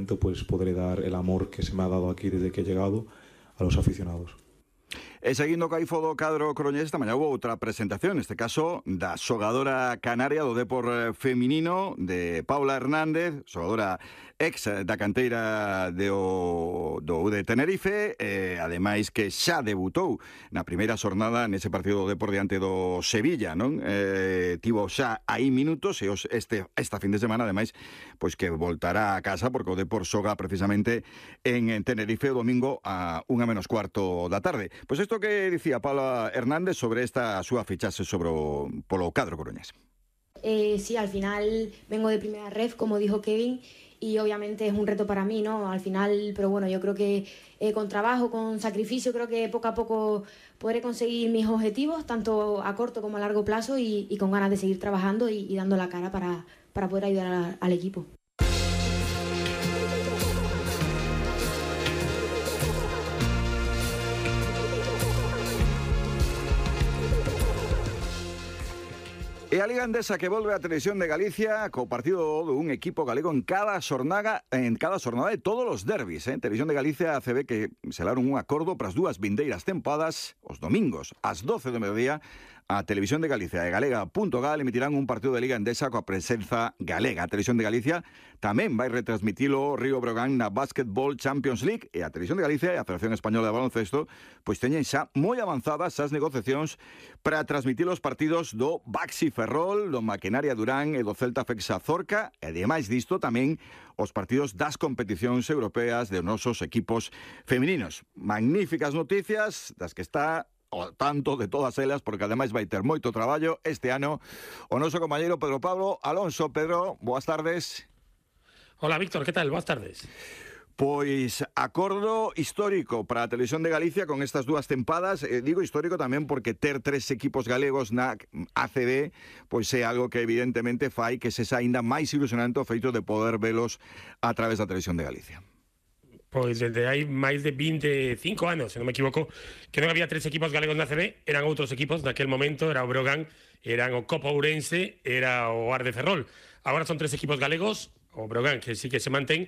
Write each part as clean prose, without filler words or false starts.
momento pues podré dar el amor que se me ha dado aquí desde que he llegado a los aficionados. E seguindo co Aifodo cadro coruñés, esta mañá houve outra presentación, neste caso da xogadora canaria do Depor feminino, de Paula Hernández, xogadora ex da canteira do UD Tenerife, ademais que xa debutou na primeira xornada nese partido do Depor diante do Sevilla, non? Tivo xa aí minutos e esta fin de semana, ademais, pois que voltará a casa porque o Depor xoga precisamente en Tenerife o domingo a 1:15 da tarde. Pois isto que dicía Paula Hernández sobre esta súa fichaxe polo cadro coruñés. Sí, al final vengo de primera ref, como dijo Kevin, y obviamente es un reto para mí, ¿no? Al final, pero bueno, yo creo que con trabajo, con sacrificio, creo que poco a poco podré conseguir mis objetivos, tanto a corto como a largo plazo, y con ganas de seguir trabajando y dando la cara para poder ayudar al equipo. E a Liga Endesa que volve á Televisión de Galicia co partido dun equipo galego en cada xornada de todos os derbis. Televisión de Galicia e ACB que selaron un acordo para as dúas vindeiras tempadas os domingos ás 12 do mediodía. A Televisión de Galicia e Galega.gal emitirán un partido de Liga Endesa coa presenza galega. A Televisión de Galicia tamén vai retransmitilo Río Breogán na Basketball Champions League, e a Televisión de Galicia e a Federación Española de Baloncesto pois teñen xa moi avanzadas as negociacións para transmitir os partidos do Baxi Ferrol, do Maquinaria Durán e do Celta Fexa Zorca, e ademais disto tamén os partidos das competicións europeas de nosos equipos femininos. Magníficas noticias das que está o tanto de todas elas, porque ademais vai ter moito traballo este ano o noso compañeiro Pedro Pablo Alonso. Pedro, boas tardes. Hola, Víctor, que tal? Boas tardes. Pois acordo histórico para a Televisión de Galicia con estas dúas tempadas. Digo histórico tamén porque ter 3 equipos galegos na ACB pois é algo que evidentemente fai que se aínda máis ilusionante o feito de poder velos a través da Televisión de Galicia. Pois desde hai máis de 25 anos, se non me equivoco, que non había 3 equipos galegos na ACB, eran outros equipos, naquel momento era o Breogán, eran o Copa Ourense, era o Ar de Ferrol. Agora son 3 equipos galegos, o Breogán, que sí que se mantén,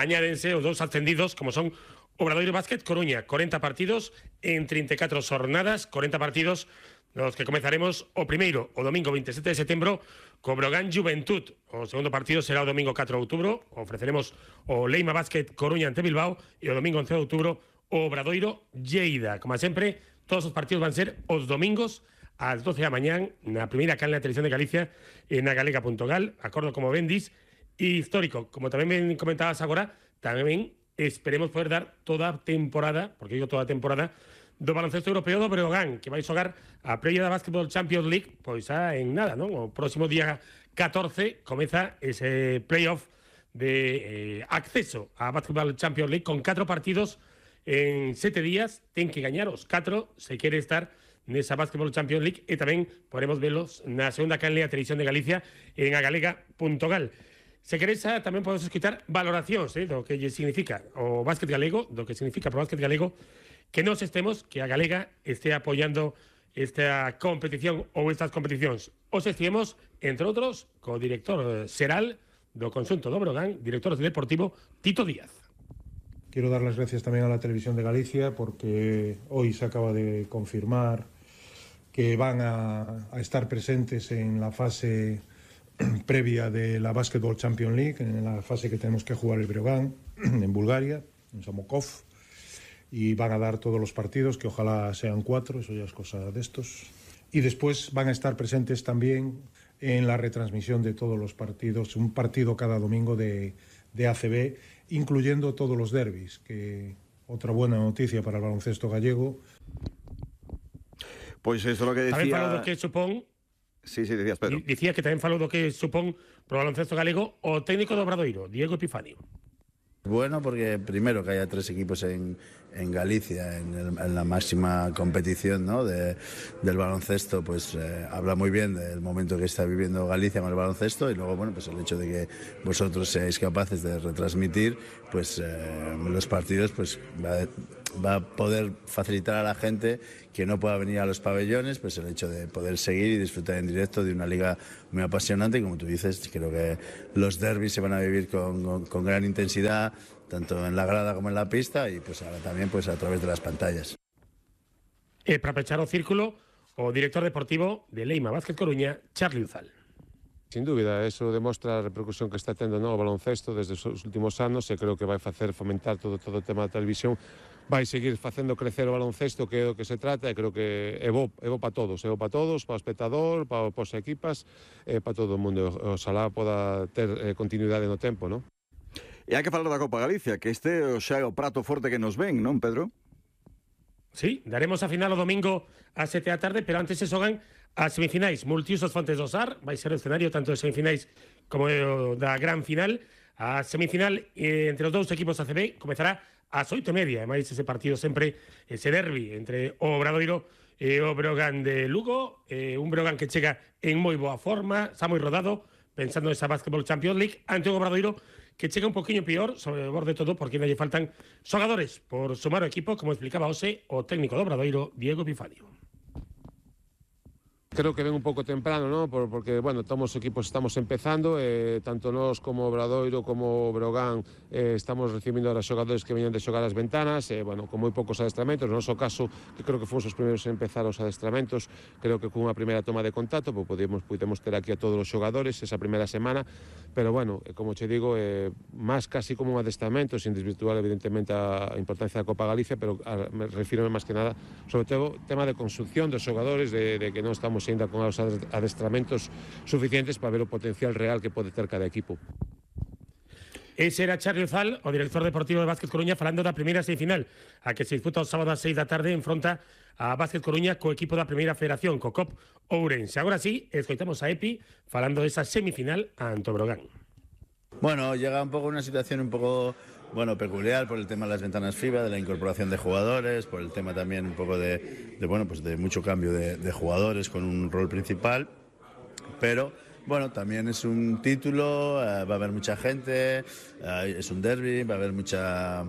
añádense os 2 ascendidos, como son Obradoiro Basket Coruña, 40 partidos en 34 xornadas, 40 partidos nos que comezaremos o primeiro, o domingo 27 de setembro, co Breogán Juventud. O segundo partido será o domingo 4 de outubro, ofreceremos o Leima Basket Coruña ante Bilbao, e o domingo 11 de outubro o Obradoiro Lleida. Como sempre, todos os partidos van ser os domingos ás 12 da mañán na primeira canle da Televisión de Galicia e na galega.gal, acordo como ben dis, e histórico. Como tamén ben comentabas agora, tamén esperemos poder dar toda a temporada, porque digo toda a temporada, do baloncesto europeo do Breogán, que vai xogar a previa da Basketball Champions League, pois en nada, non? O próximo día 14 comeza ese playoff de acceso á Basketball Champions League con 4 partidos en 7 días. Ten que gañar os 4 se quere estar nesa Basketball Champions League, e tamén podemos velos na segunda canle a Televisión de Galicia en agalega.gal. Se queres, tamén podemos escutar valoracións do que significa o básquet galego, do que significa pro básquet galego, que nos estemos, que a Galega esté apoyando esta competición ou estas competicións. Os estivemos, entre outros, co director xeral do conxunto do Breogán, director deportivo Tito Díaz. Quiero dar las gracias también a la Televisión de Galicia porque hoy se acaba de confirmar que van a estar presentes en la fase previa de la Basketball Champions League, en la fase que tenemos que jugar el Breogán, en Bulgaria, en Samokov, y van a dar todos los partidos, que ojalá sean 4, eso ya es cosa de estos. Y después van a estar presentes también en la retransmisión de todos los partidos, un partido cada domingo de ACB, incluyendo todos los derbis, que otra buena noticia para el baloncesto gallego. Pois eso é o que decía... Tamén falou do que supón... Sí, decías, Pedro. Dicía que tamén falou do que supón pro baloncesto galego o técnico do Obradoiro, Diego Epifanio. Bueno, porque primero que haya 3 equipos en Galicia en la máxima competición, ¿no? del baloncesto, pues habla muy bien del momento que está viviendo Galicia con el baloncesto, y luego, bueno, pues el hecho de que vosotros seáis capaces de retransmitir pues los partidos, pues va a poder facilitar a la gente que no pueda venir a los pabellones, pues el hecho de poder seguir y disfrutar en directo de una liga muy apasionante. Y como tú dices, creo que los derbis se van a vivir con gran intensidad, tanto en la grada como en la pista, y pues ahora también pues a través de las pantallas. Para pechar o círculo, o director deportivo de Leima Básquet Coruña, Charlie Uzal. Sin dúbida, eso demostra a repercusión que está tendo o baloncesto desde os últimos anos, e creo que vai facer fomentar todo o tema da televisión, vai seguir facendo crecer o baloncesto, que é o que se trata, e creo que é bo para todos, para o espectador, para as equipas, para todo o mundo. Oxalá poda ter continuidade no tempo, non? E hai que falar da Copa Galicia, que este xa é o prato forte que nos ven, non, Pedro? Sí, daremos a final o domingo a 7 da tarde, pero antes se xogan as semifinais multiusos Fontes do Sar, vai ser o escenario tanto de semifinais como da gran final. A semifinal entre os dous equipos ACB comezará ás 8:30, e máis ese partido sempre, ese derbi entre o Obradoiro e o Breogán de Lugo, un Breogán que chega en moi boa forma, está moi rodado, pensando nesa Basketball Champions League, ante un Obradoiro que chega un poquinho peor, sobre o borde todo, porque non lle faltan xogadores por sumar o equipo, como explicaba hoxe o técnico do Obradoiro, Diego Epifanio. Creo que ven un pouco temprano, ¿no? Porque, bueno, todos os equipos estamos empezando, tanto nós como Obradoiro como Breogán estamos recibindo a xogadores que veñan de xogar as ventanas, bueno, con moi poucos adestramentos. No noso caso, que creo que fomos os primeiros en empezar os adestramentos, creo que con unha primeira toma de contacto, pues pudemos ter aquí a todos os xogadores esa primeira semana, pero, bueno, como che digo, máis casi como un adestramento, sin desvirtuar evidentemente a importancia da Copa Galicia, pero me refiro máis que nada, sobre todo, tema de construcción dos xogadores, de que non estamos ainda con os adestramentos suficientes para ver o potencial real que pode ter cada equipo. Ese era Charlie Uzal, o director deportivo de Básquet Coruña, falando da primeira semifinal, a que se disputa o sábado ás 6 da tarde, enfronta a Básquet Coruña co equipo da primeira federación, co COP Ourense. Agora sí, escoitamos a Epi falando desa semifinal ante o Breogán. Bueno, llega un poco una situación un poco peculiar por el tema de las ventanas FIBA, de la incorporación de jugadores, por el tema también un poco de mucho cambio de jugadores con un rol principal, pero bueno, también es un título, va a haber mucha gente, es un derbi, va a haber mucha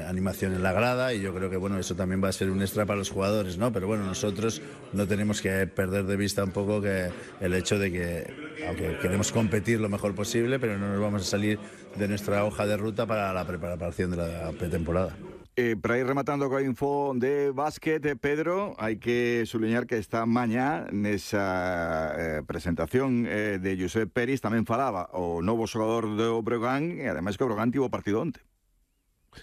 animación en la grada, y yo creo que bueno, eso también va a ser un extra para los jugadores, ¿no? Pero bueno, nosotros no tenemos que perder de vista un poco que el hecho de que, aunque queremos competir lo mejor posible, pero no nos vamos a salir de nuestra hoja de ruta para la preparación de la pretemporada. Para ir rematando coa info de básquet, Pedro, hai que subliñar que esta mañá nesa presentación de Josep Peris tamén falaba o novo xogador do Breogán, e ademais que o Breogán tivo partido onte.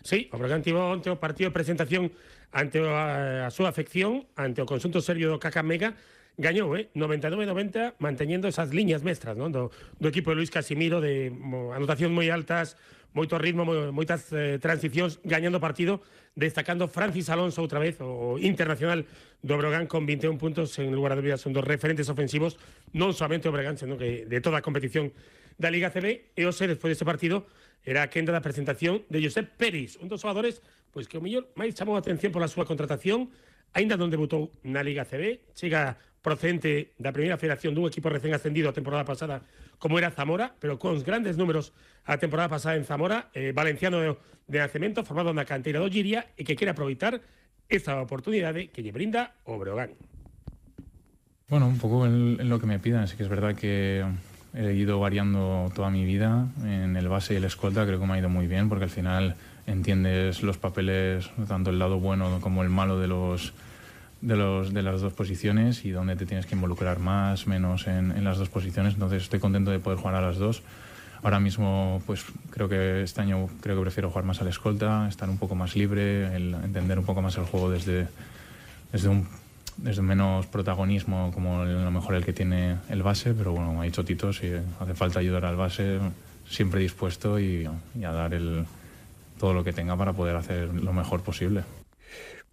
Sí, o Breogán tivo onte o partido de presentación ante a súa afección, ante o conxunto serbio do Kakamega. Gañou, 99-90, manteñendo esas liñas mestras, ¿no? do equipo de Luis Casimiro, de anotacións moi altas, moito ritmo, moitas transicións, gañando partido, destacando Francis Alonso outra vez, o internacional do Breogán, con 21 puntos, en lugar de dúbidas, son dos referentes ofensivos, non somente o Breogán, senón que de toda a competición da Liga CB. E hoxe, despois deste partido, era a quenda da presentación de Josep Peris, un dos xogadores pois que o mellor máis chamou a atención pola súa contratación, aínda non debutou na Liga CB, chega procedente da primeira federación dun equipo recén ascendido a temporada pasada como era Zamora, pero con grandes números a temporada pasada en Zamora, valenciano de nacemento, formado na canteira do Giria, e que quere aproveitar esta oportunidade que lle brinda o Breogán. Bueno, un poco en lo que me pidan. Sí que es verdad que he ido variando toda mi vida en el base y el escolta. Creo que me ha ido muy bien, porque al final entiendes los papeles, tanto el lado bueno como el malo de las dos posiciones, y dónde te tienes que involucrar más, menos en las dos posiciones. Entonces estoy contento de poder jugar a las dos. Ahora mismo pues creo que este año prefiero jugar más al escolta, estar un poco más libre, entender un poco más el juego desde menos protagonismo, como a lo mejor el que tiene el base. Pero bueno, me ha dicho Tito, si hace falta ayudar al base, siempre dispuesto y a dar todo lo que tenga para poder hacer lo mejor posible.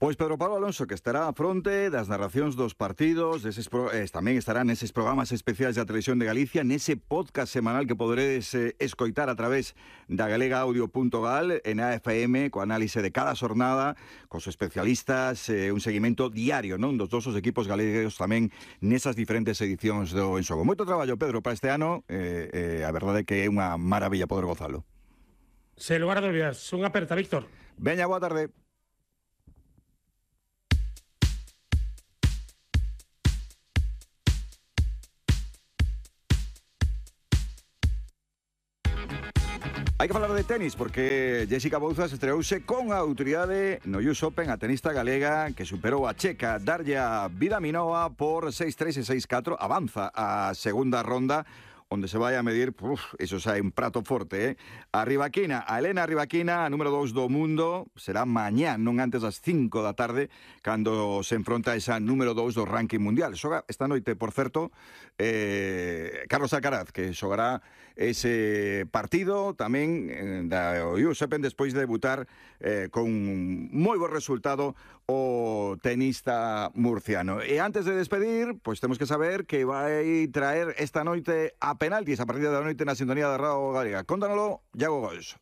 Pois Pedro Pablo Alonso, que estará a fronte das narracións dos partidos, tamén estará neses programas especiais da Televisión de Galicia, nese podcast semanal que poderedes escoitar a través da galegaaudio.gal, en AFM, co análise de cada xornada, cos especialistas, un seguimento diario, non, dos dosos equipos galegos tamén nesas diferentes edicións do En Xogo. Moito traballo, Pedro, para este ano, a verdade é que é unha maravilla poder gozalo. Se lugar de dúbidas, unha aperta, Víctor. Veña, boa tarde. Hai que falar de tenis porque Jessica Bouzas estreouse con a autoridade no US Open, a tenista galega que superou a checa Darya Vidaminoa por 6-3 e 6-4, avanza a segunda ronda onde se vai a medir, eso xa é un prato forte, a Rybakina, a Elena Rybakina, a número 2 do mundo, será mañá, non antes das 5 da tarde, cando se enfronta a esa número 2 do ranking mundial. Xoga esta noite, por certo, Carlos Alcaraz, que xogará ese partido tamén da US Open despois de debutar con moi bo resultado o tenista murciano. E antes de despedir, pois temos que saber que vai traer esta noite a penaltis a partir da noite na sintonía da Radio Galega. Cóntanolo, Iago Gois.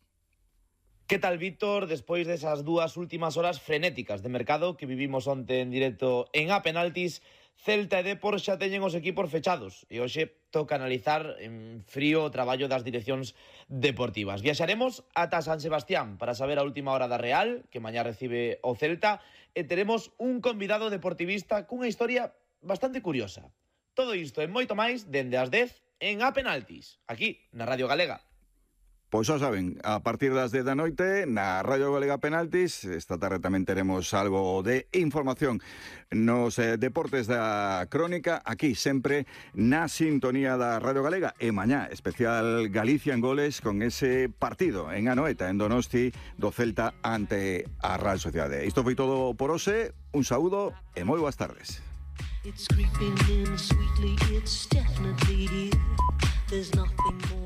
Que tal, Víctor? Despois desas dúas últimas horas frenéticas de mercado que vivimos onte en directo en A Penaltis, Celta e Depor xa teñen os equipos fechados e hoxe toca analizar en frío o traballo das direccións deportivas. Viaxaremos ata San Sebastián para saber a última hora da Real, que mañá recibe o Celta, e teremos un convidado deportivista cunha historia bastante curiosa. Todo isto e moito máis dende as 10 en A Penaltis, aquí na Radio Galega. Pois xa saben, a partir das 10 da noite na Radio Galega Penaltis, esta tarde tamén teremos algo de información nos deportes da crónica, aquí sempre na sintonía da Radio Galega, e mañá especial Galicia en goles con ese partido en Anoeta, en Donosti, do Celta ante a Real Sociedade. Isto foi todo por hoxe, un saúdo e moi boas tardes. It's creeping in sweetly, it's definitely here. There's nothing more.